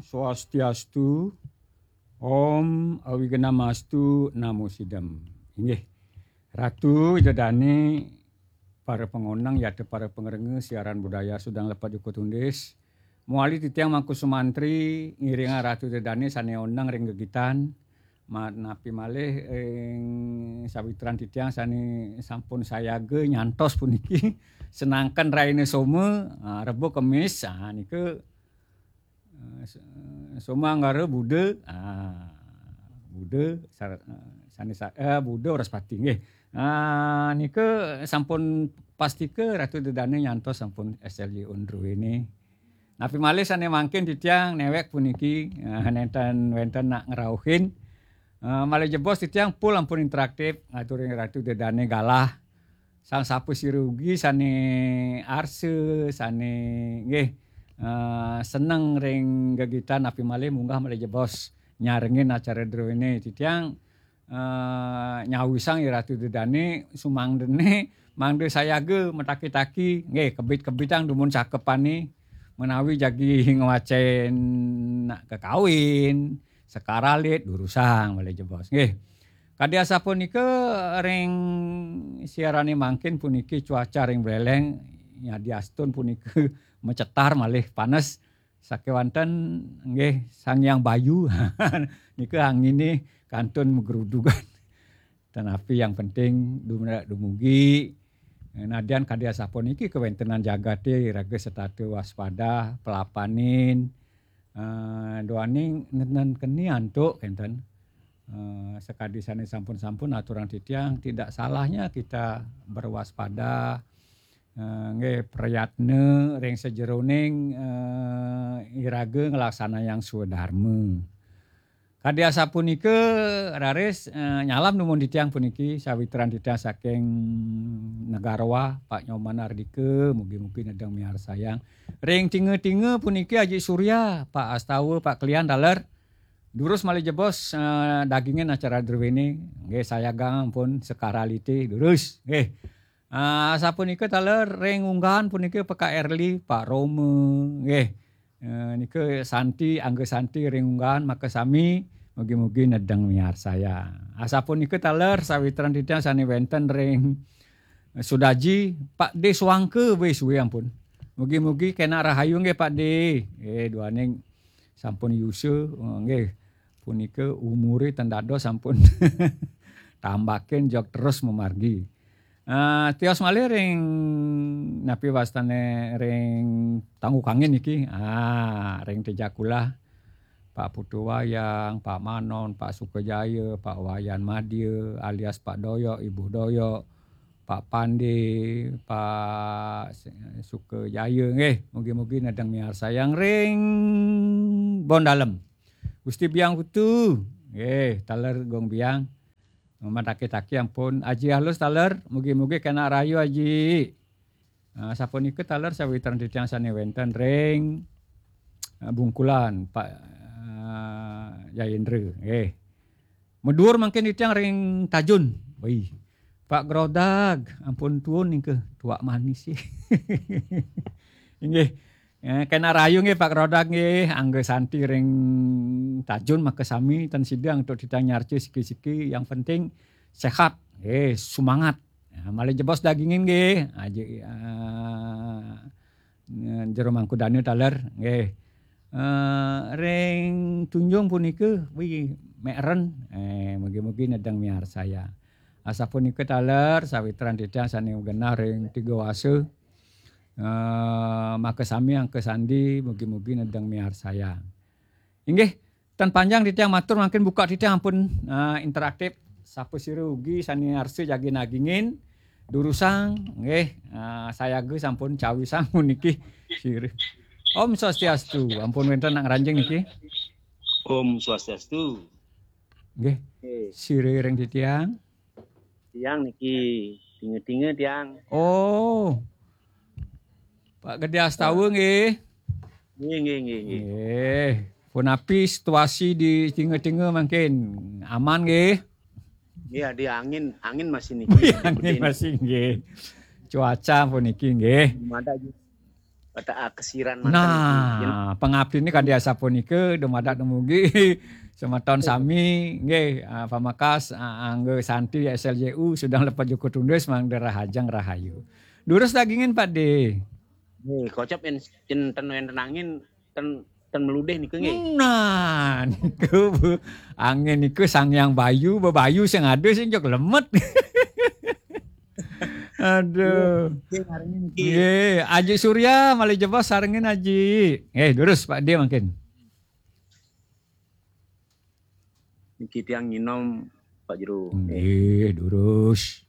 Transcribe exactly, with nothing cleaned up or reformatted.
Swastiastu, Om Awignamastu Namo Sidam. Inggih, Ratu Ida Dane, para pangoneng, yata para pangrengga siaran budaya Sudang Lepat Jukut Undis. Mawali titiang Mangku Sumantri, ngiringang Ratu Ida Dane sane oneng ring gegitan. Ma-, napi malih ring sawitran titiang sane sampun sayaga nyantos puniki. Senangken raina Soma, ah, Rebo Kemis, ah, nika Eh, s-, eh, Soma Anggara Buda, ah, Buda sar-, eh, sane sa-, eh, Buda Wraspati nggih. Ah, nika sampun pastika Ratu Ida Dane nyantos sampun S L Y on druene. Napi malih sane mangkin titiang newek puniki, eh, nenten wenten nak ngrauhin. Eh, malih jebos titiang pul ampun interaktif, ngaturin Ratu Ida Dane galah. Sang sapasira ugi sane arsa, sane nggih, eh, seneng ring gegitan napi malih munggah malih jebos nyarengin acara druene titiang, eh, nyawisang Ida Ratu Ida Dane sumangdene mangda sayaga mataki-taki nggih kebit-kebitang dumun cakepane menawi jagi ngwacen nak kekawin, sekar alit, durusang malih jebos nggih. Kadi asapunika ring siarane mangkin puniki cuaca ring Buleleng, yadiastun punika macetar malih panes sakewanten nggih Sang Hyang Bayu. Nika angine kantun magrudugan. Tetapi yang penting dumre-, dumugi. Nadyan kadi asapuniki kawentenan jagate iraga setata waspada, pelapanin, eh, duaning nenten keni antuk kenten. Eh, sakadi sane sampun-sampun aturang titiang, tidak salahnya kita berwaspada, eh, nggih, prayatna ring sajeroning, eh, iraga nglaksanayang swadarma. Kadi asapunika, raris, eh, nyalam dumun titiang puniki, sawitran titiang saking Negarawa, Pak Nyoman Ardika, mugi-mugi nedeng miarsayang. Ring tinga-tinga puniki Aji Surya, Pak Astawa, Pak Klian, taler. Durus malih jebos, eh, dagingin acara druene, nggih, sayagang ampun sekar alite, durus, nggih. Ah, sapunika taler ring unggahan punika P K Erli, Pak Roma, nggih. Eh, nika Santi, Angga Santi ring unggahan makasami, mugi-mugi nedeng miarsayang. Asapunika taler sawitran titiang sane wenten ring Sudaji, Pak D Suangka, wis suwe ampun. Mugi-mugi kenak rahayu nggih Pak D. Eh, duaning sampun yusa, eh, nggih. Punika umure ten dados sampun tambakin jog terus mamargi. Ah, tios malih ring napi wastane ring Tangguh Kangin niki. Ah, ring Tejakula. Pak Putu Wayang, Pak Manon, Pak Sukajaya, Pak Wayan Madya alias Pak Doyok, Ibu Doyok, Pak Pande, Pak Sukajaya nggih. Mugi-mugi nedeng miarsayang ring Bondalem. Gusti Biang Putu nggih, taler Gong Biang. Mataki-taki ampun. Aji Alus taler, mugi-mugi kenak rahayu Aji. Ah, sapunika taler sawitran titiang sane wenten ring, ah, Bungkulan, Pak, ah, Jayendra, nggih. Medur mangkin titiang ring Tajun. Wih. Pak Grodag, ampun tuun ningke, tuak manis sih. Inggih. Eh, kenak rahayu nggih Pak Grodag nggih, Angga Santi ring Tajun makasami ten sida antuk titiang nyarca siki-siki, yang penting sehat, nggih, sumangat. Nah, malih jebos dagingin nggih. Aja, eh, jero mangku dana taler nggih. Eh, ring Tunjung punika wi mekren. Eh, mugi-mugi nedeng miarsaya. Asapunika taler sawitran titiang sane genah ring Tiga Wasa. Eh, makasami angka sandi, mugi-mugi nedeng miarsayang. Inggih, tan panjang titiang matur, mangkin buka titiang ampun, eh, interaktif. Sapasira ugi sane arsa jagi nagingin, durusang, nggih, eh, sayaga sampun cawisang puniki sirih. Om Swastiastu, ampun wenten nak ngranjing niki. Om Swastiastu. Nggih, sirih ring titiang. Tiang niki tinga-tinga tiang. Oh. Pak Gede Astawa nggih. Nggih, nggih, nggih, nggih. Nggih. Punapi situasi di tinga-tinga mangkin? Aman nggih? Nggih, ada angin, angin masih niki. Nggih, angin masih nggih. Cuaca puniki nggih. Madak ju-, Kata ah, kesiran manten niki. Yen Nah, pangabdine kadi asapunika dumadak dumugi semeton sami nggih, ah, pamakas, ah, angga santi S L J U sedang lepet jukut tundus mangda rahajeng rahayu. Durus dagingin Pak De. Nggih, kocap yen yen ten wenten angin ten ten meludih nika nggih. Nah, niku Bu. Angin niku Sang Hyang Bayu, bebayu sing ada sing jok lemet. Aduh. Nggih, ngarengin niki. Nggih, Aji Surya malih jebos sarengin Aji. Nggih, durus Pak De mangkin. Niki tiang nginom Pak Jero. Nggih, durus.